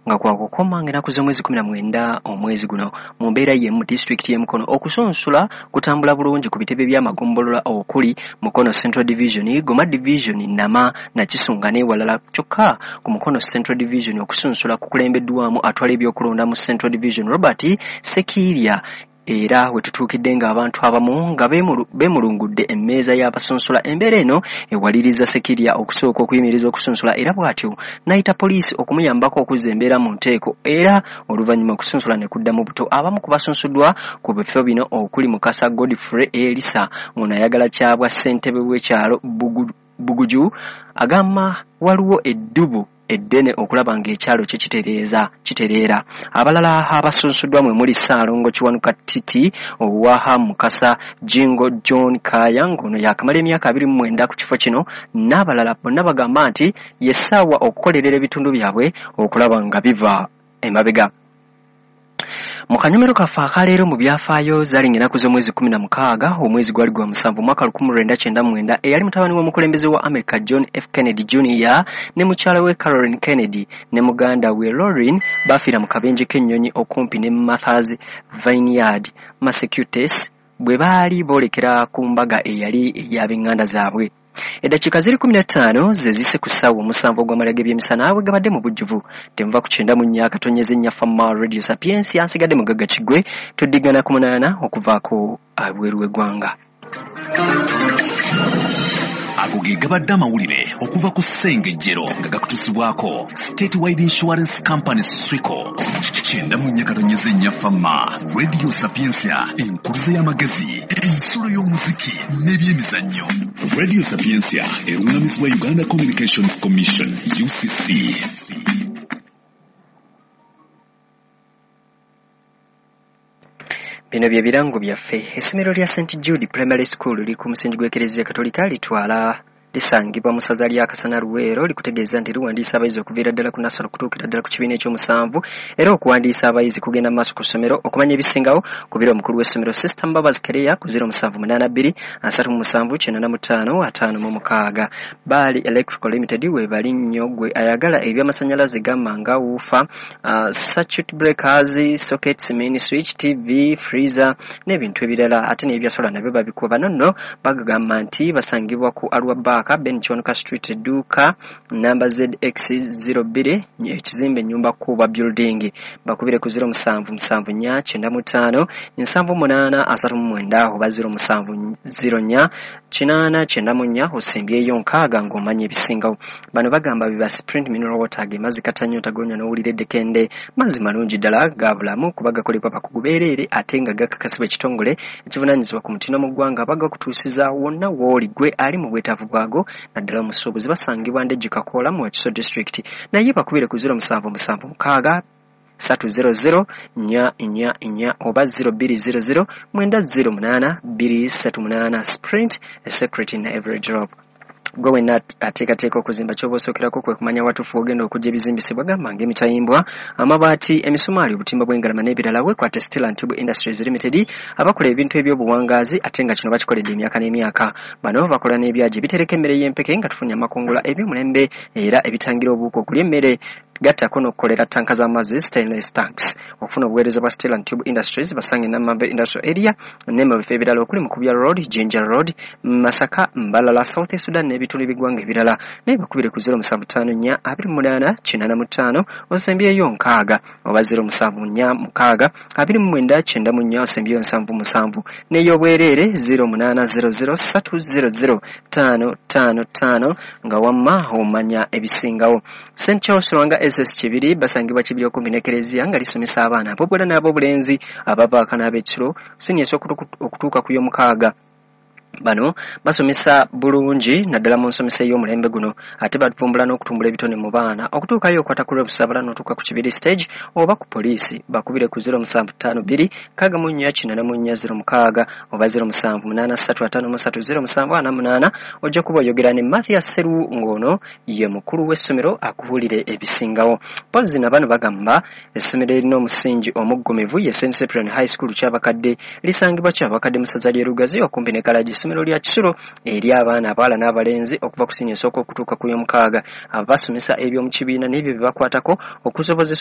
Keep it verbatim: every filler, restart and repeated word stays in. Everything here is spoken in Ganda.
nga kwakukoma ng'ennaku z'omwezi kumi na mwenda omwezi guno. Mu mbeera y'emu disitulikiti y'e Mukono okusunsula kutambula bulungi ku bitebe by'amagombolola okuli Mukono Central Division, Goma Division, Nama, Nakisunga n'ewalala. Kyokka ku Mukono Central Division okusunsula kukulembeddwamu atwala ebyokulonda mu Central Division Robert Sekiirya, era we tutuukidde ng'abantu abamu nga beemulungudde emmeeza y'abasunsula. Embeera eno ewaliriza Sekiirya okusooka okuyimiriza okusunsula era bw'atyo n'ayita poliisi okumuyambako okuzza embeera mu nteeko, era oluvannyuma okusunsula ne kuddamu buto. Abamu ku basunsuddwa ku bifo bino okuli Mukasa Godfrey Elisa, ng'ono ayagala kyabwa ssentebe w'ekyalo Buguju, agamba waliwo eddubu eddene okulaba ng'ekyalo kye kitereeza kitereera. Abalala abasunsuddwa mwe muli Ssaalongo Kiwanuka Titi owa Mukasa, Jingo John Kaya ng'ono yaakamala emyaka abiri mu mwenda ku kifo kino n'abalala. Bonna bagamba nti ye ssaawa okukolerera ebitundu byabwe okulaba nga biva emabega. Mu kanyomero kaffe akaleero mu byafaayo zaali ng'ennaku z'omwezi kkumi na mukaaga omwezi gwali gwa musanvu mwaka lukumi lwenda kyenda mu mwenda, eyali mutabani w'omukulembeze wa America John F Kennedy Junior ne mukyala we Caroline Kennedy ne muganda we Lauren bafiira mu kabenje k'ennyonyi okumpi ne Martha's Vineyard, Massachusetts, bwe baali boolekera ku mbaga eyali ey'ab'eŋŋanda zaabwe. Eddakiika ziri kkumi na ttaano ze zise ku ssaawa omusanvu ogw'amalya g'ebyemisana bwe gabadde mu bujjuvu. Temuva ku kyenda mu nnya akatonyeze nnya Fama Radio Sapientia. Nsigadde Mugagga Kiggwe, tuddigana ku munaana okuvaako abweru w'eggwanga. Ago ge gabadde amawulire okuva ku Ssengejjero nga gakutuusibwako Statewide Insurance Company Swico. Kyenda mu nnya katonyeze nnya Fama Radio Sapientia, enkuluze y'amagezi, ensulo y'omuziki n'ebyemizannyo. Radio Sapientia eruŋŋamizibwa Uganda Communications Commission U C C. Bino bye birango byaffe. Essomero lya Saint Jude Primary School liri ku musingi gw'Ekereziya Katolika, litwala lisangibwa mu ssaza lya Kasana Luweero. Likutegeeza nti liwandiisa abayizi okuviira ddala ku nasale okutuukira ddala ku kibiina ekyomusanvu, era okuwandiisa abayizi kugenda mu maaso ku ssomero. Okumanya ebisingawo kubira omukulu w'essomero Sister Mbabazi Kereya ku ziro musanvu munaana bbiri asatu mu musanvu kyenda mu ttaano ataano mu mukaaga. Baali Electrical Limited we bali nnyo gwe ayagala ebyamasannyalaze gamba nga wuufa, uh, circuit breakers, sockets, main switch, T V, freezer n'ebintu ebirala, ate n'ebyasola nabyo babikuba. Bano nno bagamba nti basangibwa ku Arua Bar Ben Kiwanuka Street, edduuka namba Z X zero bbiri, ekizimbe ennyumba Kuba Building. Bakubire ku ziro musanvu musanvu nnya kyenda mu ttaano nsanvu munaana asatu mu mwenda oba ziro musanvu ziro nnya kinaana kyenda mu nnya osimbyeyo nkaaga ng'omanya ebisingawo. Bano bagamba biba Sprint Mineral Water ge mazzi katanyota gonya n'owulira eddekende, mazzi malungi ddala ga bulamu kuba gakolebwa bakugu beereere ate nga gakakasibwa ekitongole ekivunaanyizibwa ku mutindo mu ggwanga. Bagakutuusiza wonna w'oli gwe ali mu bwetaavu bwago, naddala omusuubuzi. Basangibwa Ndejje Kakoola mu Wakiso District, naye bakubire ku ziro musanvu musanvu mukaaga ssatu zero zero nnya nnya nnya oba ziro bbiri zero zero mwenda ziro munaana bbiri ssatu munaana. Sprint, a secret in every drop. Gwe wenna ateekateeka okuzimba, ky'oba osookerako kwe kumanya watuufu w'ogenda okujja ebizimbisibwa gamba ng'emitayimbwa, amabaati, emisumaali, obutimba bw'engalama n'ebirala. Weekwate Steel and Tube Industries Limited abakola ebintu eby'obuwangaazi ate nga kino bakikoledde emyaka n'emyaka. Bano bakola n'ebyagi ebitereka emmere y'empeke nga tufunye amakungula eby'omulembe era ebitangira obuwuka okulya emmere, gattako n'okukolera ttanka z'amazzi stainless tanks. Okufuna obuweereza bwa Steel and Tube Industries basange Namambe Industrial Area ne mu bifo ebirala okuli Mukubya Road, Jinja Road, Masaka, Mbalala, South Sudan n'ebitundu by'eggwanga ebirala. Naye bakubire ku ziro musanvu ttaano nnya abiri mu munaana kinaana mu ttaano osembyeyo nkaaga oba ziro musanvu nnya mukaaga abiri mu mwenda kyenda mu nnya osembyeyo nsanvu musanvu, n'ey'obwereere ziro munaana ziro ziro ssatu ziro ziro ttaano ttaano ttaano nga wamma omanya ebisingawo. Saint Charles Lwanga S S Kibiri basangibwa Kibiri okumpi n'Ekereziya nga lisomesa abaana ab'obuwala n'ab'obulenzi abavaako n'ab'ekiro siniya esooka okutuuka ku y'omukaaga. Bano basomesa bulungi naddala mu nsomesa ey'omulembe guno, ate batuvumbula n'okutumbula ebitone mu baana. Okutuukayo okwata ku Lwebusabala n'otuuka ku Kibiri stage oba ku poliisi. Bakubire ku ziro musanvu ttaano bbiri nkaaga mu nnya kinaana mu nnya ziro mukaaga oba ziro musanvu munaana ssatu ataano mu ssatu ziro musanvu ana munaana. Ojja kuba oyogera ne Mathias Seru ng'ono ye mukulu w'essomero akubuulire ebisingawo. Mpozzi na bano bagamba essomero erina omusingi omuggumivu ye Saint Cyprian High School Kyabakadde, lisangibwa Kyabakadde mu ssaza ly'e Lugazi okumpi ne Kalagi. Essomero lya Kisulo eri abaana abawala n'abalenzi okuva ku siniya esooka okutuuka ku y'omukaaga. Abasomesa eby'omu kibiina n'ebyo bye bakwatako okusobozesa